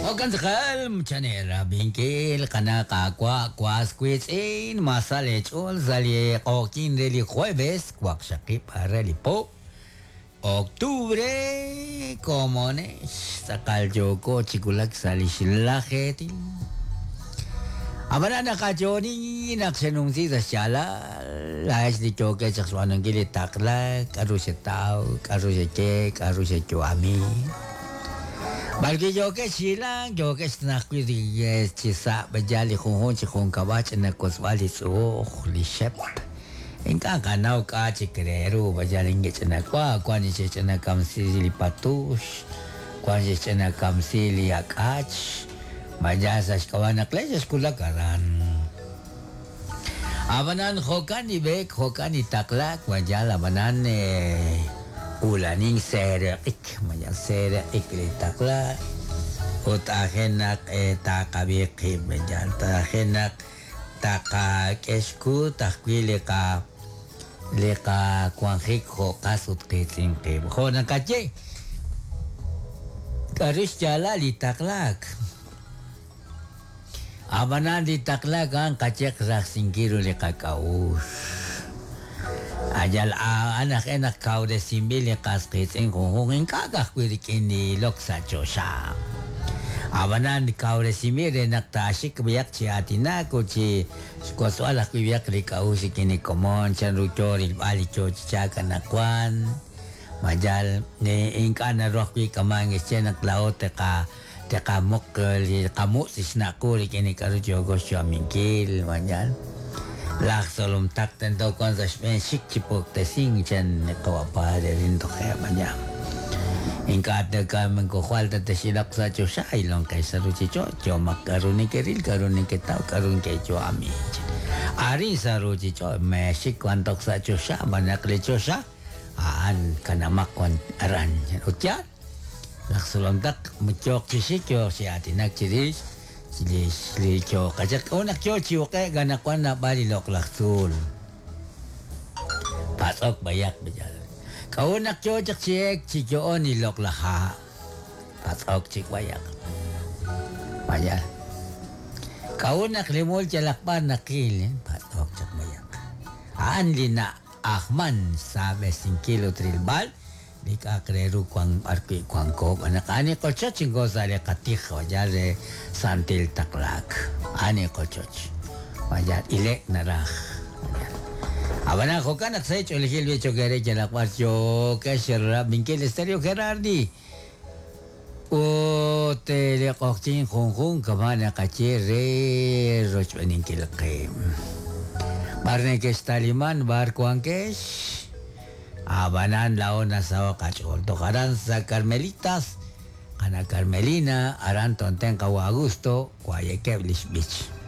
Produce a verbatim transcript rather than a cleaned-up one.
Okantzakal, chanera binkil, qana qaawa' was wiitz'in, masal ech'ul sa' li q'oqyin re li jueves, waqxaqib' re li po, octubre, komonex, tz'aqal yooko chi wulak sa' li xlajeetil. Ab'anan naqayooni naq xenumsi sa' xyaalal, laa'ex li yookex chaq xb'aanunkil li taqlak, k'aru xetaw, k'aru xeye, k'aru xeyu'ami. Balki yokex hilang, yokex najwi chi sa' b'ayal li junjun chi junkab'al ch'ina kosb'al li tz'uuj, li xep. Ink'a' qanaw k'a' chik re ru b'ayal ink'a' ch'ina wa, wan xe'ch'ina kamsi li patux, wan xe'ch'ina kamsi li ak'ach, b'ayal sa' xk'ab'a' naq le xe'xkulak aran. Ab'anan jo'kan li b'eek, jo'kan li taqlak, b'ayal ab'anan eh, ulanin sereq'ik, mayal sereq'ik li taqla, ut ajenaq eh, taqab'i qib', mayal ajenaq taqak'exkut ajwi' li qa li qawanjik jo' qas ut qiitz'in qib'. Jo' naqaye, k'aru xyaalal li taqlaak. Ab'anan li taqlaak a'an qayeq rajsinkil ru li qak'a'uxl. Ayal a'an aj e naq kawresinb'il li qas qiitz'in junjun ink'a' ka'ajwi' rik'in li ilok sa' choxa. Ab'anan kawresinb'il re naq taaxik b'ayaq chi aatinak ut chi xk'osb'al ajwi' b'ayaq li k'a'uxl rik'in li komon, chan ru yo rilb'al li yo chi chaak anaqwan. Mayal ink'a' naru ajwi' k'aman xche naq laa'o teqa teqamuq li qamu' xnaqu rik'in li k'aru yooko xyu'aminkil, mayal. Laj solom tak tento wan sa' xb'een xik chi puktesin chan qawa' padre rin toje' maña. Ink'a' takaman ko falta texilaq sa' choxa ilon kay sa ruchich'och' yomaq k'aru neke'ril k'aru neketaw k'aru neke'yu'ami. Arin sa ruchich'och' mexik wan toj sa' choxa b'anaq li choxa a'an kanamaq wan aran. Ut yaal laj solom tak yook chi xik yook chi aatinak chirix li li yookachaq unaq yo chi uq'e' ganaqwan naab'al li loq'laj tzuul. Patz'ok b'ayaq b'ayal. K'a'unaq yo chaq chi ek chi yo'on li loq'laj ha'. Patz'ok chik b'ayaq. B'ayal. K'a'unaq li mul yalaq b'ar naqil, patz'ok chaq b'ayaq. A'an li na'ajman sa' b'esinkil ut rilb'al li k'a'aq re ru wan b'ar wi' wanko b'anaq ani qochoch inko sa' li qatij b'ayal re santil taqlaak. Ani qochoch. B'ayal ilek naraj. Ab'anan jo'kan naq sa' ch'oolejil b'i chokere yalaq b'ar yookex rab'inkil Estéreo Gerardi. Ut li q'oqyin junjun kama' naqaye re rochb'eninkil qib'. B'ar neke'xtaliman b'ar wankex. Ab'anan laa'o nasaho qach'ool. Toj aran sa' Carmelitas, qana Carmelina, aran tonten qawa Augusto, wayekeb' li xb'ich.